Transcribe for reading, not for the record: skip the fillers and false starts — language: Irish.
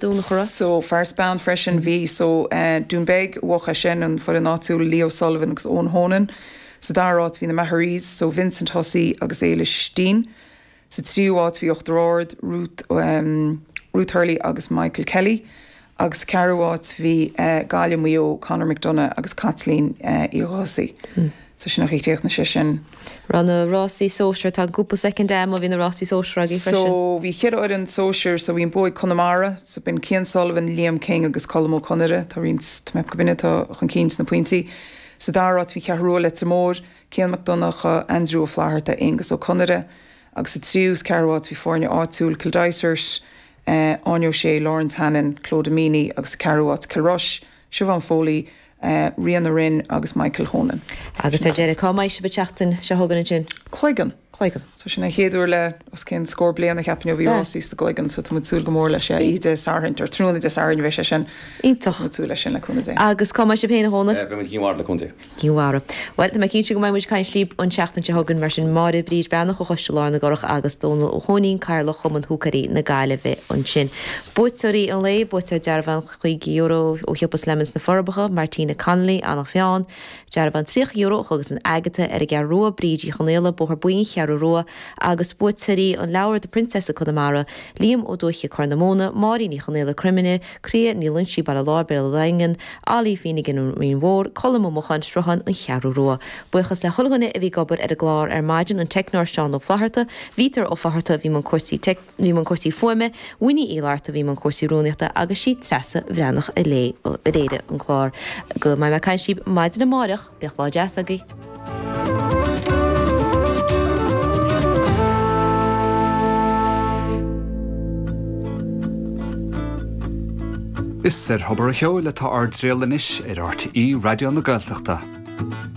Dún an Churraigh. So, fear is bean freisin, bhí. So, Dún Beag a bhuaigh é sin, an foireann áitiúil, Leo Sullivan agus Eoin Honan. Sa dara háit bhí na Maharees, so Vincent Hussey agus Éilis Deane. Sa tríú háit bhí Uachtar Ard, Ruth, Ruth Hurley agus Michael Kelly. Agus sa ceathrú háit bhí Gaillimh, Maigh Eo, Conor McDonagh agus Caitlín Uí Dhufaigh. So sin an chaoi a chríochnaigh sé sin. Raibh na rásaí sóisir, tá cúpla soicind agam, bhí na rásaí sóisir agaibh freisin. So bhí cheithre fhoireann sóisir, so bhí an bua ag Conamara, so b'in Cian Sullivan, Liam King agus Colm Ó Conaire, tá roinnt, tá mé ag ceapadh gurb in atá chun cinn sna pointí. Sa dara háit bhí Ceathrú Rua, Leitir Móir, Cian Mac Donncha, Andrew Ó Flatharta, Aonghus Ó Conaire, agus sa tríú is ceathrú háit bhí foirne áitiúil, Kildysart, Áine O'Shea, Lawrence Hannon, Clodagh Meaney agus sa ceathrú háit Kilrush, Siobhán Foley, Ríona Rynne agus Michael Honan. Agus ar deireadh, cá mbeidh sibh an tseachtain seo chugainn ansin? Cloigeann. Cloigeann. So sin an chéad uair le os cionn scór bliain a cheapfainn ó bhí rásaí sa gCloigeann so tá muid ag súil go mór leis. Oíche Dé Sathairn, or tráthnóna Dé Sathairn a bheidh sé sin. Iontach. So tá muid ag súil leis sin le cúnamh Dé. Agus cá mbeidh sibh féin a Dhónaill? Beidh muid i gCinn Mhara le cúnamh Dé. Cinn Mhara. Bhuel, tá mé cinnte go mbeidh muid ag caint libh an tseachtain seo chugainn, mar sin Máire Bríd Breathnach ó Choiste Lár na gCurrach agus Dónal Ó hÓinín, Cathaoirleach Chumann Húicéirí na Gaillimhe ansin. Buaiteoirí an lae, buaiteoir dearbhán €50 ó shiopa Slemons sna Forbacha, Martina Connolly, Eanach Mheáin, dearbhán €30 ó Chógaslann Agatha ar an gCeathrú Rua, Bríd Uí Chonaola, Bóthar Buí, An Cheathrú Rua, agus buaiteoirí an leabhair The Princess of Connemara, Liam Ó Dúiche, Corr na Móna, Máirín Ní Chonaola, Croimine, Croía Ní Loinsigh, Baile Láir, Béal an Daingin, Ollie Finnegan, An Rinn Mhór, Colm Ó Mocháin, Sruthán, An Cheathrú Rua. Buíochas le chuile dhuine a bhí ag obair ar an gclár ar maidin, an teicneoir Seán Ó Flatharta, Bhítear Ó Flatharta a bhí i mbun cúrsaí bhí i mbun cúrsaí fuaime, Winnie Uí Fhlatharta a bhí i mbun cúrsaí rúnaíochta agus sí Treasa Bhreathnach a léigh a léirigh an clár. Go mbeidh mé ag caint libh maidin amáireach, bíodh lá deas agaibh. Is ar Thobar an Cheoil atá ár dtriall anois ar RTÉ Raidió na Gaeltachta.